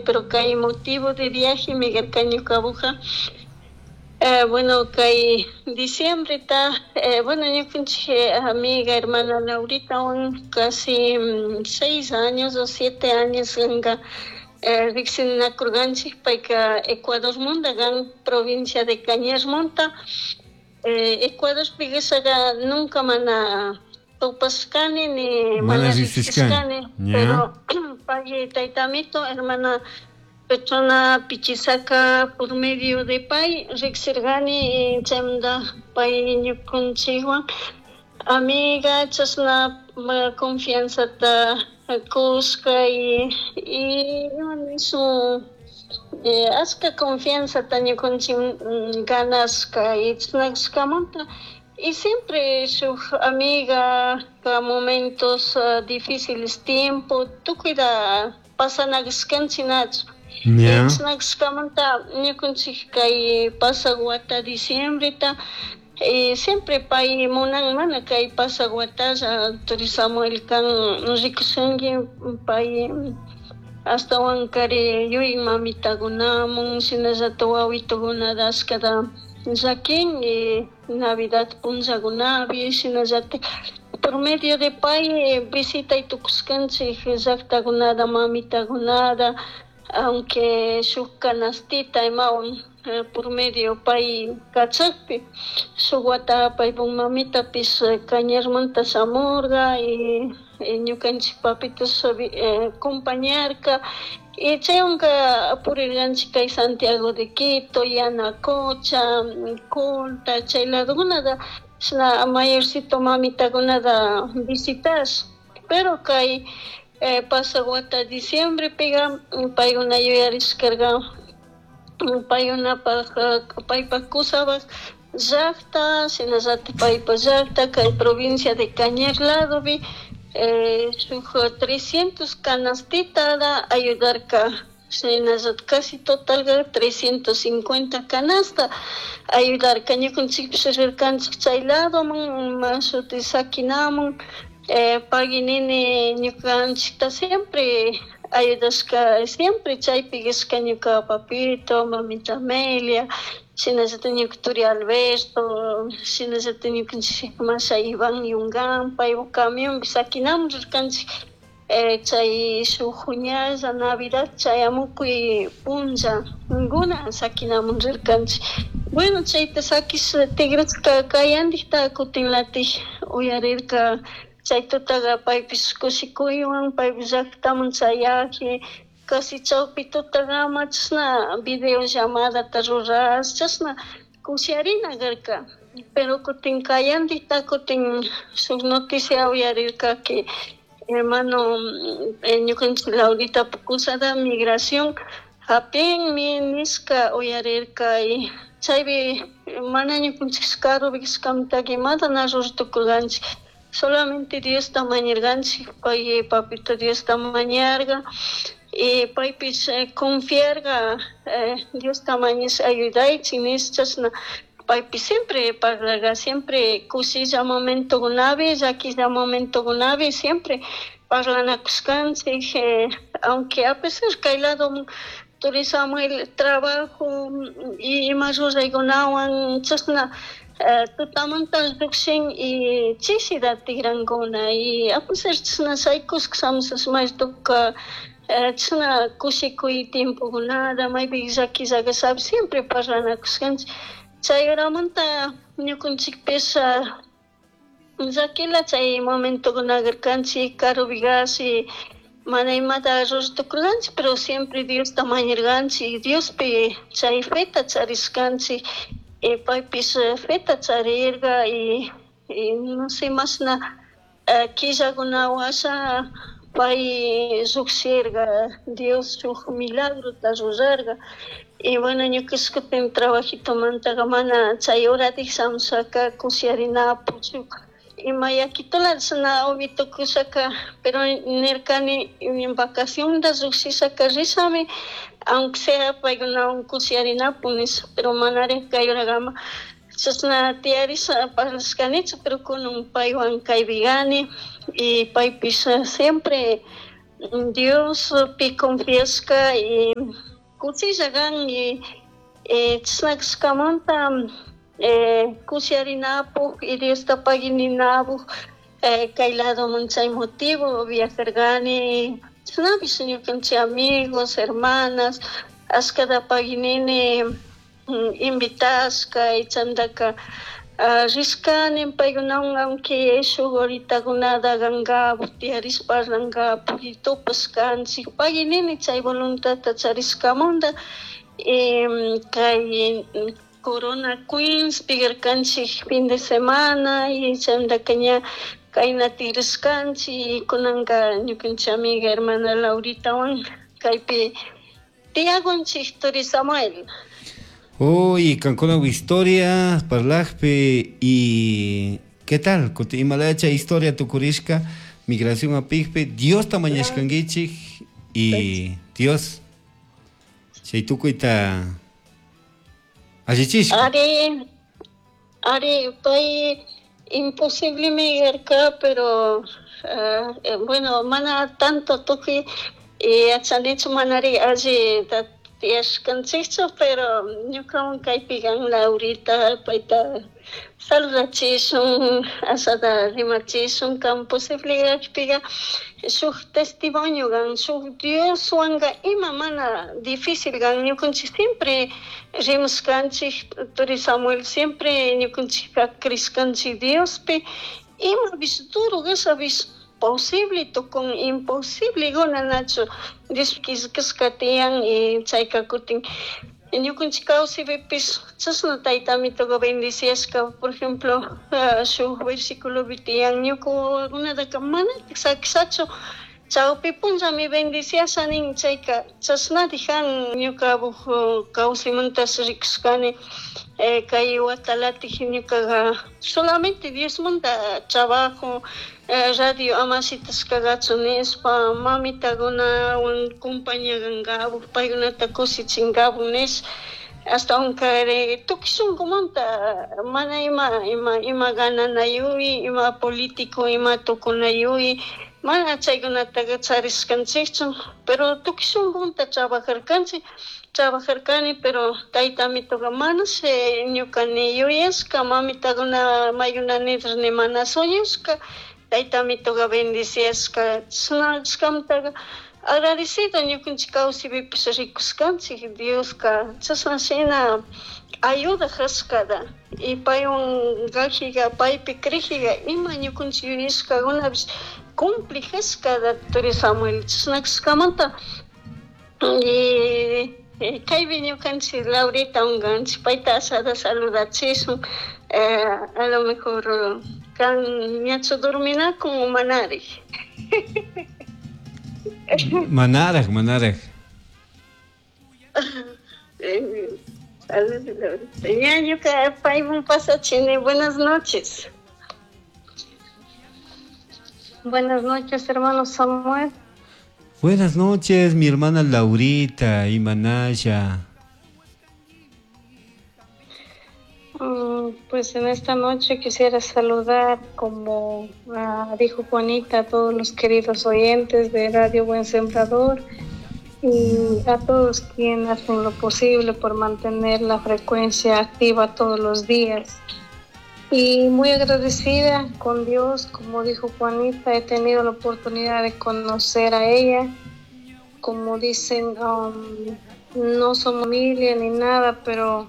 Pero kay motivo de viaje mi karka ñukapuka. Bueno, kay diciembreta, bueno, ñukanchik amiga hermana Lauritawan casi 6 años o 7 años kanka riksinakurkanchik. Payka Ecuadormanta kan, provincia de Cañarmanta. Ecuadorpi kashaqa nunca mana tupashkani ni Mana mana riksishkani. riksishkani, Ña. pero pay taytamito hermana Petrona Pichisaka por medio de pay riksirkani y chaymanta pay ñukanchikwan amiga chashna confianzata kushka y ima nishun, ashka confianzata ñukanchik ganashka y chashna kashkamanta y siempre shuk amiga momentos difíciles tiempo tukuyta pasanakashkanchik, nachu? Ña. Chashna kashkamanta ñukanchik kay pasak wata diciembreta siempre pay munan mana kay pasak watalla turi Samuel kan rikushunki pay ashtawankari yuy mamitakunamun shinallatak wawitukunata ashkata llakin y Navidad punllakunapi shinallatak por medio de pay visitay tukushkanchik llaktakunata, mamitakunata, aunque shuk canastita imawan por medio pay kachakpi. Shuk wata paypuk mamitapish Cañarmanta shamurka y ñukanchik papitos acompañarka y chaywanka purirkanchik kay Santiago de Quito, Yanacocha, Colta, chay ladokunata chashna mayorcito mamitakunata visitash. Pero kay pasak wata diciembrepica paykuna yuyarishkarka paykunapak paypak kusapak llakta shinallatik paypak llakta kay provincia de Cañar ladopi shuk 300 canastitata ayudarka, shinallatik casi totalka 350 canasta ayudarka. Ñukanchikpish rirkanchik chay ladoman shuti sakinamun. Pagui nini ñukanchikta siempre ayudashka, siempre chaypi kashka ñuka papito, mamita Amelia, shinallatik ñuka turi Alberto, shinallatik ñukanchik masha Iván Yungán, paypuk camionpi sakinamun rirkanchik chay shuk ñalla Navidad chayamukuy punllakuna sakinamun rirkanchik. Bueno, chayta sakish tigrashka kayantikta kutinlatik uyarirka chay tutaqa paypish kushikuywan paypish llaktaman chayaji casi chawpi tutakama chashna video llamadata rurash chashna kushiarina karka. Pero kutin kayantikta kutin shuk noticia uyarirka que hermano ñukanchik Laurita kusada migración hapinmi nishka uyarirka y chaypi mana ñukanchik karupi kashkamantaka imata na ruray tukurkanchik, solamente Diosta mañarkanchik. Pay papito Diosta mañarka y paypish confiarka Diosta mañash ayudaychik nish. Chashna paypish siempre parlarka, siempre kushilla momentokunapi, llakilla momentokunapi siempre parlanakushkanchik, aunque a pesar kay lado turi Samuel trabajo y ima ruraykunawan chashna tutamanta llukshin y chishita tigrankuna y a pesar chashna shaykushka shamushash maytuka chashna kushikuy tiempokunata maypi llakilla kashapish siempre parlanakushkanchik. Chay horamanta ñukanchikpish llakila chay momentokuna karkanchik karupi kashi mana imata ruray tukurkanchik, pero siempre Diosta mañarkanchik, Diospi chay feta charishkanchik y paypish feta charirka y no sé mashna killakuna washa pay llukshirka, Dios shuk milagrota rurarka. Y bueno, ñukash kutin trabajitomantaka mana chay horatik shamushaka kushiarinapuk shuk ima yakitola chashna uvi tukushaka, pero nirkani vacacionta llukshishaka rishami aunque sea paykunawan kushiarinapuk nisha, pero manarik kay horakama chashna tiyarisha parlashkanichu, pero kunan paywan kaypi kani y paypish siempre. Diospi confiashka y kushilla kan y chashna kashkamanta kushiarinapuk y Diosta paguininapuk kay ladoman chay motivo viajarkani. Chashnapish ñukanchik amigos, hermanas ashkata paguinini invitashka y chaymantaka rishkani paykunawan, aunque shuk horitakunata kankapuk tiyarishpa parlankapuk y tupashkanchik, paguinini chay voluntadta charishkamanta. Y kay Corona Queens pigarkanchik fin de semana y chaymantaka ña kayna tigrashkanchik y kunanka ñukanchik amiga hermana Lauritawan kaypi tiyakunchik, turi Samuel. Uy, kankuna historia parlajpi y ¿qué tal? Kuti imalaya historia tukurishka migración apikpi Diosta mañashkankichik y Dios chay tukuyta allichishka. Ari, ari, pay imposiblemi karka, pero bueno, mana tanto tukuy yachanichu, manari alli tiyashkanchikchu, pero ñukawan kaypi kan Laurita, payta saludachishun, ashata rimachishun, kan posible kakpiga shuk testimonio kan, shuk Dioswanka ima mana difícil kan. Ñukanchik siempre rimashkanchik, turi Samuel, siempre ñukanchikka crishkanchik Diospi, imapish duro kashapish posible tukun, imposible nachu Dios killkashka tiyan. Y chayka kutin ñukanchik kawsaypipish chashna tayta amitoka bendiciashka. Por ejemplo, shuk versículopi tiyan, ñuka wawakunataka manatik sakishachu, chawpi punllami bendiciasha nin. Chayka chashnati kan ñukapuk kawsaymantash rikushkani. Kay watalatik ñukaqa solamente Diosmanta trabajo, radio ama shitashkagachu nishpa, mamitakunawan compañagankapuk, paykunata kushichinkapuk nish, ashtawankari tukuy shunkumanta, mana ima ima ima gananayuy, ima político ima tukunayuy, mana chaykunataka charishkanchikchu, pero tukuy shunkumanta trabajarkanchik, trabajarkani. Pero tayta amitoka manash ñuka ni yuyashka, mamitakuna maykuna ni mana soñashka tayta amitoka bendiciashka. Chashna kashkamantaka agradecido ñukanchik kawsaypipish rikushkanchik Dioska chashna shina ayuda kashkata y paywan kajiga, paypi crejiga, ima ñukanchik yuyashkakunapish cumplijashkata, turi Samuel. Chashna kashkamanta y kaypi ñukanchik Laurita unkanchik, payta ashata saludachishun. A lo mejor kan ñachu dorminakun o manari. Manaraj, manaraj. Ña ñuka paymun pasachini. Buenas noches. Buenas noches, hermano Samuel. Buenas noches, mi hermana Laurita y Manaya. Pues en esta noche quisiera saludar, como dijo Juanita, a todos los queridos oyentes de Radio Buen Sembrador y a todos quienes hacen lo posible por mantener la frecuencia activa todos los días. Y muy agradecida con Dios, como dijo Juanita, he tenido la oportunidad de conocer a ella. Como dicen, no somos familia ni nada, pero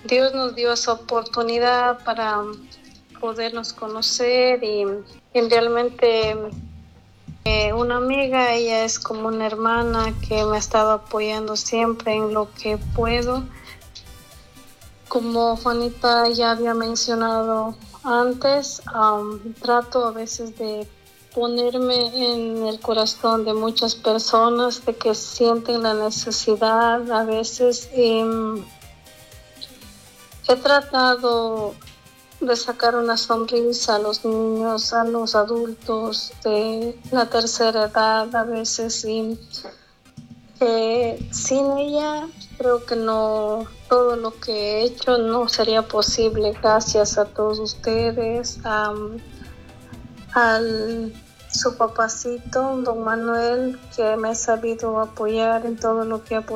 Dios nos dio esa oportunidad para podernos conocer y realmente una amiga, ella es como una hermana que me ha estado apoyando siempre en lo que puedo. Como Juanita ya había mencionado antes, trato a veces de ponerme en el corazón de muchas personas de que sienten la necesidad a veces. Y he tratado de sacar una sonrisa a los niños, a los adultos de la tercera edad a veces, y sin ella creo que no, todo lo que he hecho no sería posible. Gracias a todos ustedes, al su papacito, don Manuel, que me ha sabido apoyar en todo lo que ha podido.